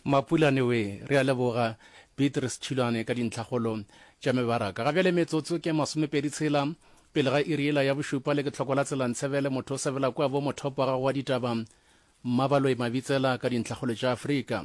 Mapulane we, re a leboga Beatrice Tšhilwane ka dintlhakgolo tša mebaraka. Ga bjale metsotso ke masomepedi tshela pele ga iri yela ya bošupa le ke tlhoko la tsela Ntshebele motho o sebela kua bo mothopo wa gago wa ditaba Mmabaloi Mabitsela ka dintlhakgolo tša Afrika.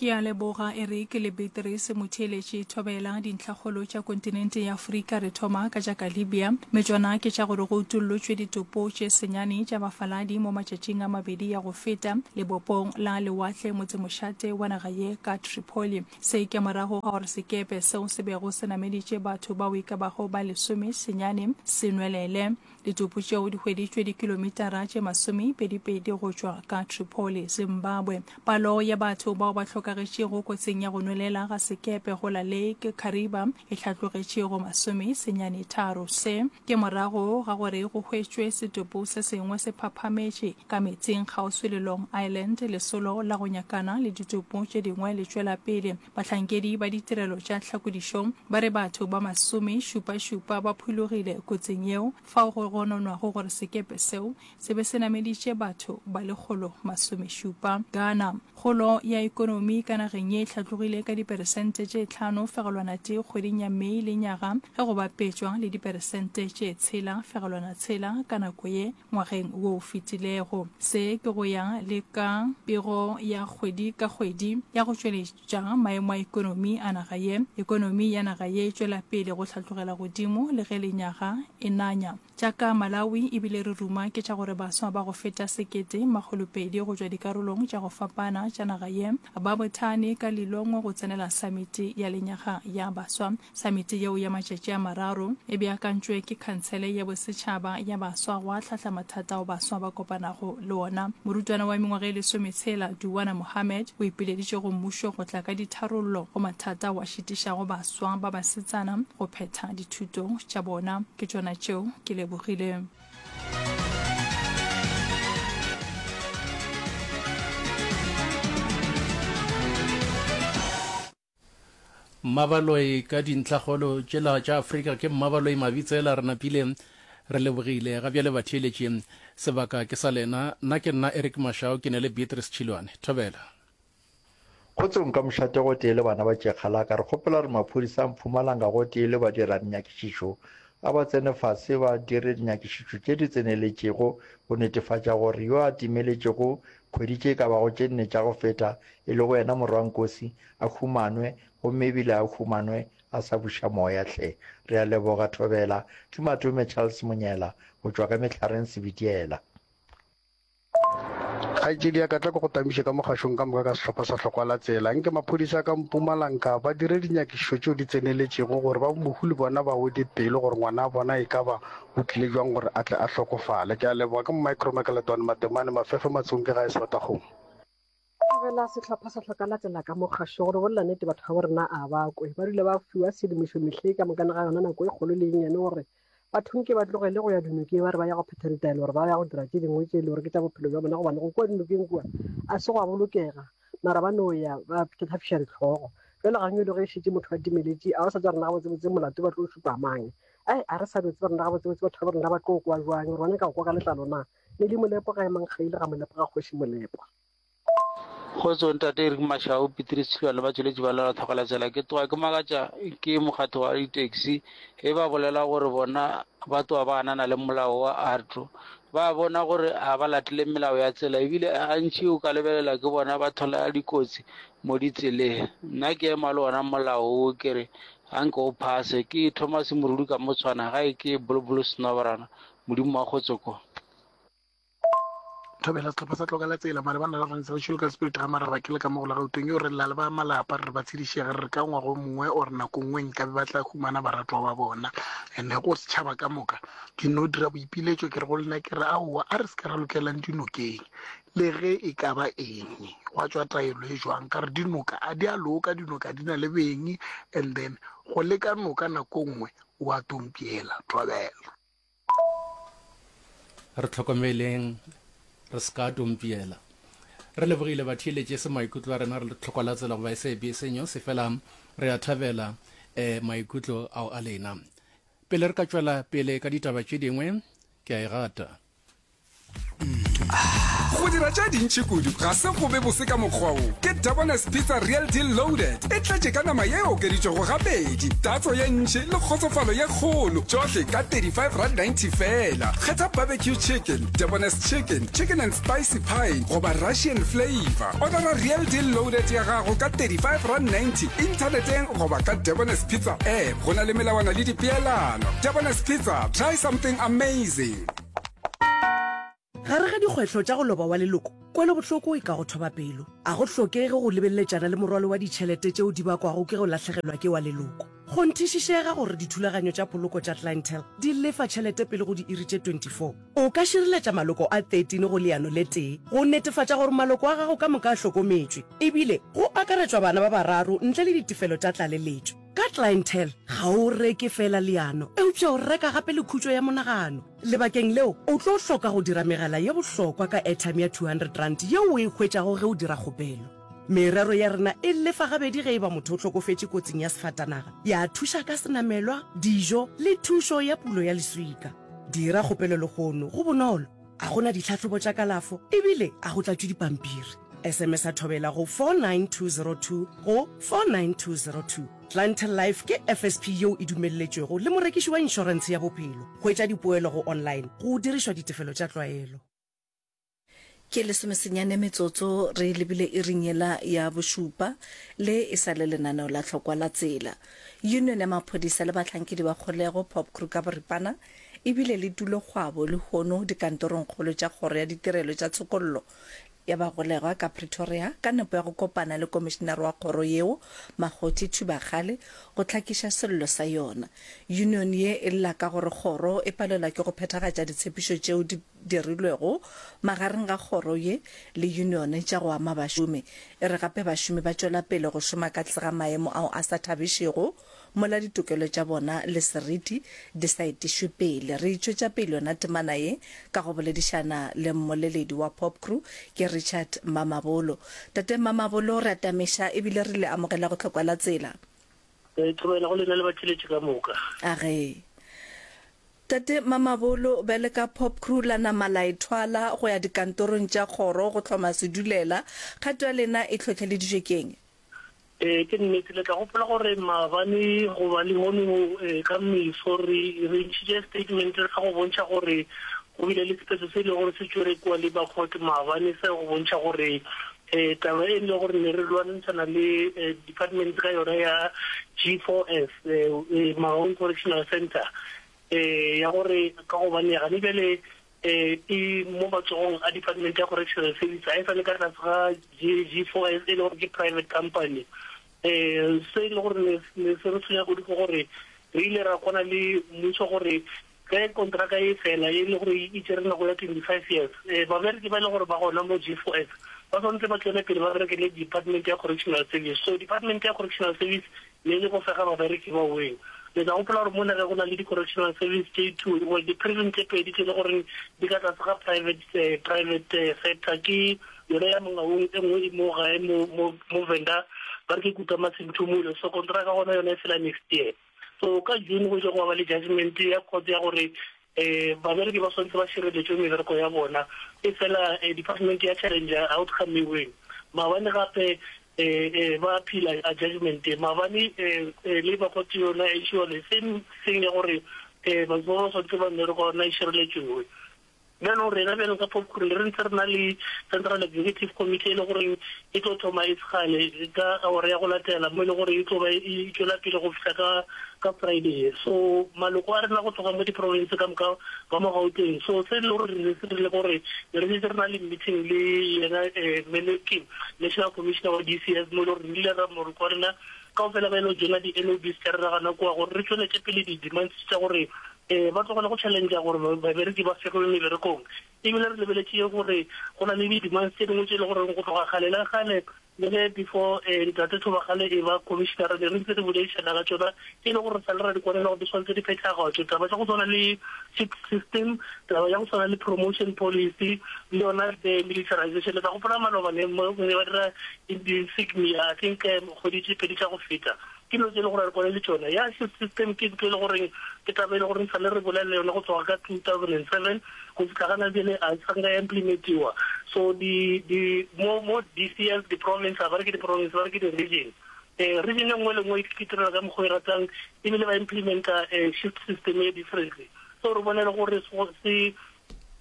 Ke a leboga Eric le Beatrice Motheeletši Thobela Dintlhakgolo tša kontinente ya Afrika Re thoma ka tša ka Libya Mme tšona ke tša gore go utollotšwe ditopo tše senyane tša bafaladi mo matšatšing a mabedi ya go feta lebopong la lewatle motsemošate wa naga ye ka Tripoli Se ke morago ga gore sekepe seo se bego se nameditše batho bao e ka bago ba lesome senyane se nwelele. Ditopo tšeo di hweditšwe dikilomitara tše masomepedipedi go tšwa ka Tripoli, Zimbabwe. Palo ya batho bao ba hlokagetšego kotsing ya go nwelela ga sekepe go la Lake Kariba e hlatlogetše go masomesenyane tharo. Se ke morago ga gore go hwetšwe setopo se sengwe se phaphametše ka meetseng kgauswi le Long Island. Lesolo la go nyakana le ditopo tše dingwe le tšwela pele. Bahlankedi ba ditirelo tša tlhakodišo ba re batho ba masomešupašupa ba phulogile kotsing yeo, fao go gononwago gore sekepe seo se be se nameditše batho ba lekgolo masomešupa. Ghana, Kgolo ya ekonomi ka nageng ye e hlatlogile ka diperesente tše 5.1 kgweding ya Mei lenyaga ge go bapetšwa le diperesente tše 6.6 ka nako ye ngwageng wo o fetilego. Se ke go ya le ka pego ya kgwedi ka kgwedi ya go tšweletša maemo a ekonomi a naga ye. Ekonomi ya naga ye e tšwela pele go hlatlogela godimo le ge lenyaga e nanya. Tša ka Malawi e bile re ruma ke tša gore baswa ba go feta 1200 go tšwa dikarolong tša go fapana tša naga ye ba bothane ka Lilongwe go tsenela Samiti ya Lenyaga ya Baswa. Samiti yeo ya matšatši a mararo e beakantšwe ke Khansele ya Bosetšhaba ya Baswa go ahlahla mathata ao baswa ba kopanago le ona. Morutwana wa mengwaga e lesometshela, Duwana Mohammed, o ipileditše go mmušo go tla ka ditharollo go mathata ao a šitišago baswa ba basetsana go phetha dithuto tša bona. Ke tšona tšeo, ke lebogile. Mmabaloi ka dintlhakgolo tšela tša Afrika ke Mmabaloi Mabitsela re napile re lebogile ga bjale batheeletši sebaka ke sa lena nna ke nna Eric Mashao ke ne le Beatrice Tšhilwane thobela. Kgotsong ka mošate gotee le bana ba Tšekgalaka, re kgopela gore maphodisa a Mpumalanga gotee le badira-dinyakišišo a ba tsene fase ba dire dinyakišišo tše di tseneletšego go netefatša gore yo a timeletšego kgwedi tše e ka bago tše nne tša go feta e lego yena morwa Nkosi a humanwe gomme ebile a humanwe a sa buša moya hle. Re a leboga Thobela. Ke Matome Charles Monyela go tšwa ka Mehlareng Sebitiela. Kgaetšedi ya ka, tla ke go tamiše ka mogašong ka moka ka sehlopha sa Hlokwa la Tsela. Nke maphodisa a ka Mpumalanga ba dire dinyakišišo tšeo di tseneletšego gore ba mohu le bona ba wede pelo gore ngwana wa bona e ka ba o tlile jwang gore a tle a hlokofale. Ke a leboga. Ke Micro Makaletwane Matemane, Mafefe Matsong ke gae Sebatakgomo. Tlogela sehlopha sa hloka la tsela ka mokgašo gore bolela nnete batho ba bo rena a ba kwe ba dula ba fiwa sedimošo mehle ka mokana ga yona nako e kgolo le e nnyane gore batho nke ba tlogele go ya dinokeng ba re ba ya go phetha ditaelo gore ba ya go dira tše dingwe tše e le gore ke tša bophelo bja bona gobane go kua dinokeng kua a se gwa bolokega mara ba no ya ba tlhafiša ditlhogo jale gang e le ge e šetše motho a timeletše a ba sa tswa rena gabotsebotse molato ba tlo šupa mang ai a re sa no tseba rena gabotsebotse batho ba rena ba tlo kwa jwang gore ba nyaka go kwa ka letlalo na le le molepo ga emang ga ile ga molepo ga kgoši molepo Kgotso ntate Eric Mashau, Petrus Tshilwane le batšweletši ba Lela Tlhokela Tsela. Ke tloga ke makatša ke mokgatlo wa di-taxi ge ba bolela gore bona ba tloga ba ganana le molao wa AARTO. Ba bona gore ga ba latele melao ya tsela ebile gantši o ka lebelela ke bona ba thola dikotsi mo ditseleng. Nna ke ema le ona molao wo ke re ga nke o phase. Ke Thomas Morudi ka Motshwana gae ke Bolobolo Snobrana. Modimo wa kgotso ko. Thobela sehlopha sa Tloka la Tsela malebana le Rantsha Local Spirit ga Maraba ke le ka mo go la Gauteng yo re lla le ba malapa re re ba tshedišege re re ka ngwaga o mongwe or nako nngwe nkabe ba tla humana baratwa ba bona and go setšhaba ka moka ke no dira boipiletšo ke re go lena ke re aowa a re se ka ra lokelang dinokeng le ge e ka ba eng gwa tšwa taelo e jwang ka re dinoka a di a loka dinoka di na le beng and then go leka noka nako nngwe o a tompiela thobela. Re hlokomeleng re se ka tompiela. Re lebogile batheeletši e se maikutlo a rena re le tlhokwa la tsela goba SABC News fela re a thabela eh, maikutlo ao a lena. Pele re ka tšwela pele ka ditaba tše dingwe, ke a e gata. Go dira tše dintši kudu ga se go be bose ka mokgwa wo. Ke Debonair's Pizza Real Deal Loaded. E tletše ka nama ye e okeditšwego gabedi, tatso ye ntši le kgotsofalo ye kgolo, tšohle ka R35.90 feela. Kgetha barbecue chicken, Debonair's chicken, chicken and spicy pie goba Russian flavour. Odara Real Deal Loaded ya gago ka R35.90 inthaneteng goba ka Debonair's Pizza app. Go na le melawana le dipeelano. Debonair's Pizza, try something amazing. Gare ga dikgwetlho tša go loba wa leloko, kwelobohloko e ka go thoba pelo. A go hlokege go lebeleletšana le morwalo wa ditšhelete tšeo di bakwago ke go lahlegelwa ke wa leloko. Kgonthišišega gore dithulaganyo tša poloko tša Clientele di lefa tšhelete pele go diiri tše 24. O ka šireletša maloko a 13 go leano le tee go netefatša gore maloko a gago ka moka a hlokometšwe, ebile go akaretšwa bana ba bararo ntle le ditefelo tša tlaleletšo. Ka Clientele, ga o reke feela leano, eupša o reka gape le khutšo ya monagano. Lebakeng leo, o tlo hloka go dira megala ye bohlokwa ka airtime ya R200 yeo o e hwetšago ge o dira kgopelo. Merero ya rena e lefa gabedi ge e ba motho o hlokofetše kotsing ya sefatanaga, ya thuša ka senamelwa, dijo le thušo ya pulo ya leswika. Dira kgopelo lehono, go bonolo, a go na ditlhahlobo tša kalafo ebile a go tlatšwe dipampiri. SMS-a Thobela go 49202 go 49202. Clientele Life ke FSP yeo e dumelletšwego le morekiši wa inšorentshe ya bophelo. Hwetša dipoelo go online go dirišwa ditefelo tša tlwaelo. Ke lesomesenyane metsotso re lebile iring yela ya bošupa, le e sa le lenaneo la tlhokwa la tsela. Union ya maphodisa le bahlankedi ba kgolego, Popcru ka boripana, e bile le tulokgwabo lehono dikantorongkgolo tša Kgoro ya Ditirelo tša Tshokollo ya bagolegwa ka Pretoria ka nepo ya go kopana le komišinare wa kgoro yeo, Makgothi Thubakgale, go hlakiša sello sa yona. Union ye e lla ka gore kgoro e palelwa ke go phethagatša ditshepišo tšeo di dirilwego magareng ga kgoro ye le union tša go ama bašomi. E re gape bašomi ba tšwela pele go šoma ka tlase ga maemo ao a sa thabišego mola ditokelo tša bona le seriti di sa etišwe pele. Re itšwetša pele yona temana ye ka go boledišana le mmoleledi wa Popcru, ke Richard Mamabolo. Tate Mamabolo, re atameša ebile re le amogela go hlokwa la tsela. Re thobela go lena le batšweletši ka moka. Age. Tate Mamabolo, bjale ka Popcru la nama la ithwala go ya dikantorong tša kgoro go hloma sedulela, kgato ya lena e hlohleleditšwe ke'ng? Ee, ke nnete. Le tla gopola gore maabane goba lehono ka meso re re ntšhitše statement sa go bontšha gore go bile le sephetho se e lego gore se tšwere kua Labour Court maabane sa go bontšha gore um taba e le gore ne re lwantshana le department ka yona ya G4S, Mangaung Correctional Centre, um ya gore ka gobane gane bjale E mo matsogong a Department ya Correctional Service, ga e sa le ka tlase ga G4S e le gore ke private company. Um se e le gore ne ne se re tshwenya kudu ke gore re ile ra kwana le mmušo gore ge kontraka e fela e le gore e tšere nako ya 25 years, um babereki ba e le gore ba gona mo G4S ba swanetse ba tšwele pele ba bereke le Department ya Correctional Service. So Department ya Correctional Service Le le go fega babereki ba weng. Le tla gopola gore mo nageng go na le di-correctional service tše two, well, di-prison tše pedi tše le goreng di ka tlase ga private, private sector. Ke yona ya Mangaung, e nngwe e mo gae mo, mo, mo Venda, ba re ke Kutama Senthumule. So kontraka gona yona e fela next year. So ka June go ile gwa ba le judgment ya court ya gore um babereki ba swanetše ba šireletšwe mebereko ya bona, efela department ya challenge outcome eweng. Maabane gape ba appeal a judgment e. Maabane Labour Court yona e issue the same thing ya gore batho ba ba swanetše ba mmereko wa bona e šireletšwe. Bjalo rena bjalo ka Popcru re ntse re na le Central Executive Committee e le goreng e tlo thoma e segale ka awara ya go latela mo e le gore e tlo ba e tšwela pele go fihla ka ka Friday. So maloko a rena go tloga mo di-province ka moka ba mo Gauteng. So se e le gore re se rile gore ne re šetše re na le meeting le yena eh, National Commissioner wa DCS mo e le gore re ile ra moroko wa rena kaofela ba ile go joina di-LOBs tša rena gana kua gore re tšweletše pele di-demands tša gore um ba tlogele go challengea gore babereki ba fegelwe meberekong. Ebile re lebeletše gore go na le di-demands tše dingwe tše e le goreng go tloga kgale le kgale Le ge before Ntate Thobakgale e ba Commissioner ne re ntse re boledišana ka tšona, e le gore re sa le ra di kwanela gore di swanetše di phethagatšwe. Taba tša go swana le shift system, taba ya go swana le promotion policy le yona the militarization. Le tla gopola maloba ne ne ba dira insignia, I think kgwedi tše pedi tša go feta. Ke dilo tše e le gore a re kwane le tšona. Ya shift system ke ntho e le goreng ke taba e le goreng sale re bolela yona go tloga ka 2007 go fihla gana bjale a sa nka ya implementiwa. So di di mo mo DCS di province a ba re ke di province ba re ke di region. Eh region e nngwe le nngwe e itirela ka mokgwa o e ratang ebile ba implementa eh shift system e differently. So re bone le gore se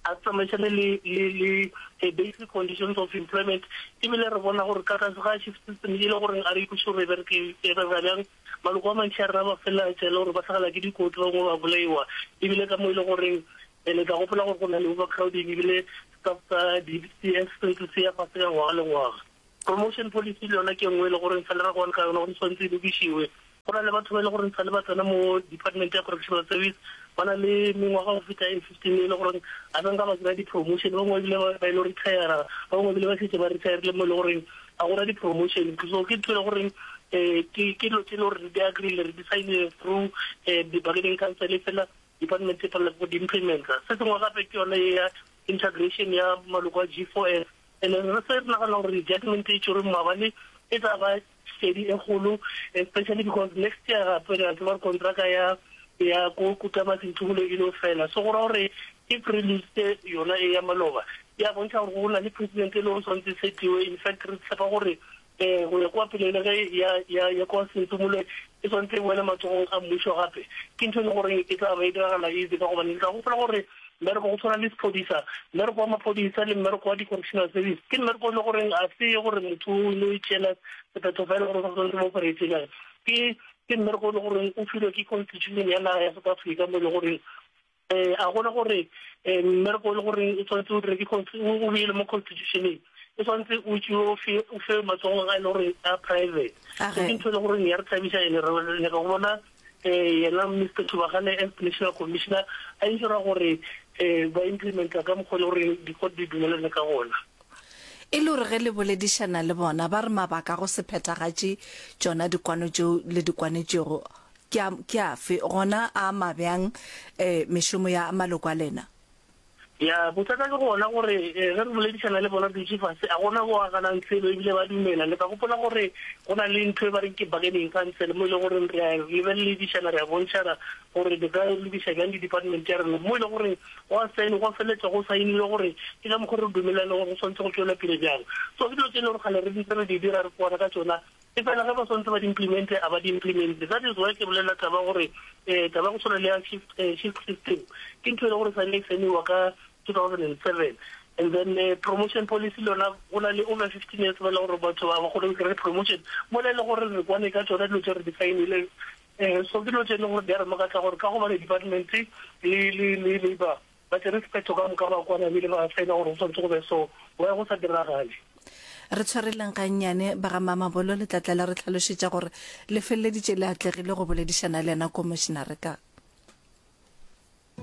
a se tsamaišane le le le eh, basic conditions of employment ebile re bona gore ka tlase ga shift system e le goreng a re ikweše gore e bereke e bereka bjang maloko a mantši a rena ba feleletša e le gore ba tlhagelwa ke dikotsi ba bangwe ba bolaiwa ebile ka mo e le goreng eh, le tla gopola gore go na le overcrowding ebile staff sa di-cs se se ya fase ka ngwaga le ngwaga Promotion policy le yona ke e nngwe e le goreng sale ra kwana ka yona gore e tshwanetse e lokišiwe. Go na le batho ba e le goreng sale ba tsena mo department ya correctional service ba na le mengwaga go feta e 15 e le goreng a sa nka ba kry-a di-promotion, ba bangwe ebile ba ile retire, ba bangwe ebile ba šetše ba retirile mo e le goreng ga gona di-promotion. So ke ntho e le goreng um ke ke dilo tse e le gore re di agree-ile re di sign-ile through um di-bargaining council fela department e palelwa ke go di implementa. Se sengwe gape ke yone ya integration ya maloko a G4S. And re se re nagana gore judgment e tšerweng maabane e tla ba šedi e kgolo, especially because next year gape re a tseba gore kontraka ya ya ko Kutama Senthumolo e lo fela. So go ra gore if re lositse yona e ya maloba, ya bontšha gore go na le precedent e le gore tshwanetse e setiwe. In fact re tshepa gore um go ya kwa pele le ge ya ya ya kwa Senthumolo e tshwanetse e boele matsogong a mmušo gape, ke ntho e le goreng e tla ba e diragala easy ka gobane le tla gopola gore mmereko go tshwana le sephodisa, mmereko wa maphodisa le mmereko wa di-correctional service ke mmereko o le goreng a se gore motho o no itšeela sephetho fela gore o tshwanetse mo operate jang. Ke ke mmereko o le goreng o filwe ke constitution ya naga ya South Africa mo e le goreng um a gona gore um mmereko o le goreng o tshwanetse o dire ke o beile mo constitutioneng o tshwanetse o tšewe o fe o fe matsogong a e le gore a private. So ke ntho e le goreng ya re thabiša ene re nyaka go bona um yena Mister Thubagane as national commissioner a ensura gore um ba implementa ka mokgwa e le goreng di-court di dumelane ka gona. E le gore ge le boledišana le bona ba re mabaka a go se phethagatše tšona dikwano tšeo le di kwanetšego ke a, ke afe, gona a ama bjang um mešomo ya maloko a lena? Ya, bothata ke gona gore ge re boledišana le bona re dutše fase, a gona bo a ganang selo ebile ba dumela. Le tla gopola gore go na le ntho e ba reng ke bargaining council mo e le goreng re a lebeledišana, re a bontšhana gore re ka lokiša bjang di-department tša rena. Mo e le goreng go a saenwa, gwa feleletša go saenilwe gore ke ka mokgwa re dumelane gore go swanetše go tšwelwa pele bjang. So ke dilo tše e le gore kgale re ntse re di dira, re kwana ka tšona. Efela ge ba swantse ba di implemente, a ba di implemente. That is why ke bolela taba gore eh, taba ya go tshwana le ya shift, eh, shift system ke ntho e le gore sale e saeniwa ka 2007 and then eh, promotion policy le yona go na le over 15 years ba le gore batho ba ba kgone go kry promotion mola e le gore re kwane ka tsona dilo tse re di saenile eh, so ke dilo tse e leng gore di a re makatsa gore ka gobane department le le le labor Ba tšere sephetho ka moka ba kwana ebile ba saena gore go swanetše go be so, why go sa diragale? Re tshwareleng gannyane, ba ga Mamabolo le tla tla la re hlalošetša gore le feleleditše le atlegile go boledišana le yena Komošenare ka.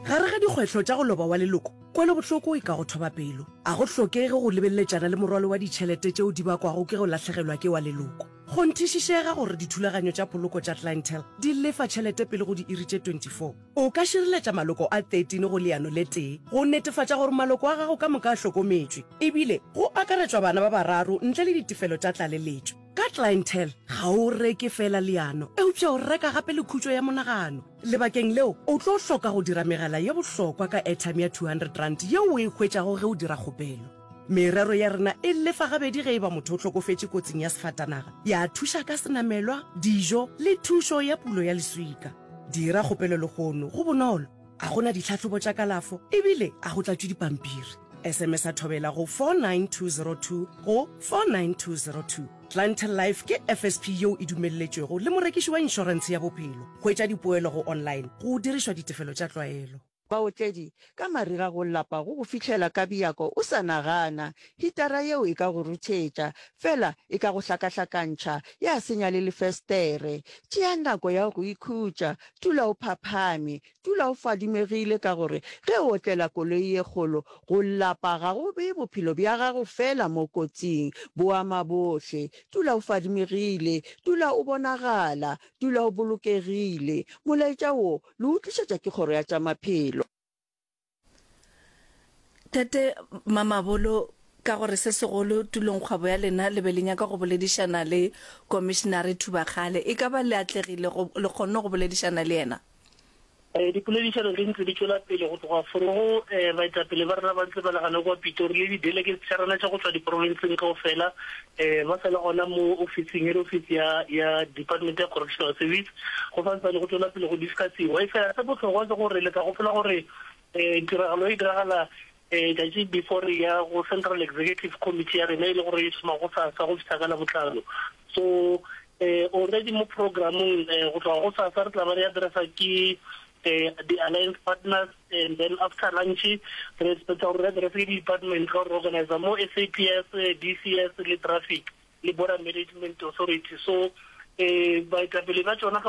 Gare ga dikgwetlho tša go loba wa leloko, kwelobohloko e ka go thoba pelo. A go hlokege go lebeleletšana le morwalo wa ditšhelete tšeo di bakwago ke go lahlegelwa ke wa leloko. Kgonthišišega gore dithulaganyo tša poloko tša Clientele di lefa tšhelete pele go diiri tše 24. O ka šireletša maloko a 13 go leano le tee go netefatša gore maloko a gago ka moka a hlokometšwe, ebile go akaretšwa bana ba bararo ntle le ditefelo tša tlaleletšo. Ka Clientele, ga o reke feela leano, eupša o reka gape le khutšo ya monagano. Lebakeng leo, o tlo hloka go dira megala ye bohlokwa ka airtime ya R200 yeo o e hwetšago ge o dira kgopelo. Merero ya rena e lefa gabedi ge e ba motho o hlokofetše kotsing ya sefatanaga, ya thuša ka senamelwa, dijo le thušo ya pulo ya leswika. Dira kgopelo lehono, go bonolo, a go na ditlhahlobo tša kalafo ebile a go tlatšwe dipampiri. SMS-a Thobela go 49202 go 49202. Clientele Life ke FSP yeo e dumelletšwego le morekiši wa inšorentshe ya bophelo. Hwetša dipoelo go online go dirišwa ditefelo tša tlwaelo. Baotledi, ka mariga go lapa go go fihlela ka bjako o sa nagana. Hitara yeo e ka go ruthetša, fela e ka go hlakahlakantšha, ya senya le lefestere. Tšea nako ya go ikhutša, dula o phaphame, dula o fadimegile ka gore ge o otlela koloi ye kgolo, go lapa ga go bee bophelo bja gago fela mo kotsing, bo ama bohle. Dula o fadimegile, dula o bonagala, dula o bolokegile. Molaetša wo Le o tlišetša ke Kgoro ya tša Maphelo. Tate Mamabolo, Ka gore se segolo tulongkgwebo ya lena le be le nyaka go boledišana le Komišenare Thubakgale. E ka ba le atlegile go, le kgonne go boledišana le yena? Eh, dipoledišano di ntse di tšwela pele go tloga forogo eh, baetapele ba rena ba ntse ba le gana kua Pitori le di-delegates tša rena tša go tšwa diprofenseng kaofela eh, ba sa le gona mo ofising head office ya, ya Department ya Correctional Service go santsane go tšwela pele go discussiwa. Efela se bohlokwa ke gore le tla gopola gore eh, tiragalo e diragala eh, tšatši before re ya go Central Executive Committee ya rena e le gore e thoma gosasa go fihla ka Labohlano. So eh, already mo programmong eh, go tloga gosasa re tla ba re addressa ke eh, di-alliance partners and then after lunch re expecta gore re address ke di-department ka gore re organizer mo SAPS, DCS le traffic le border management authority. So eh, baetapele ba tšona ka.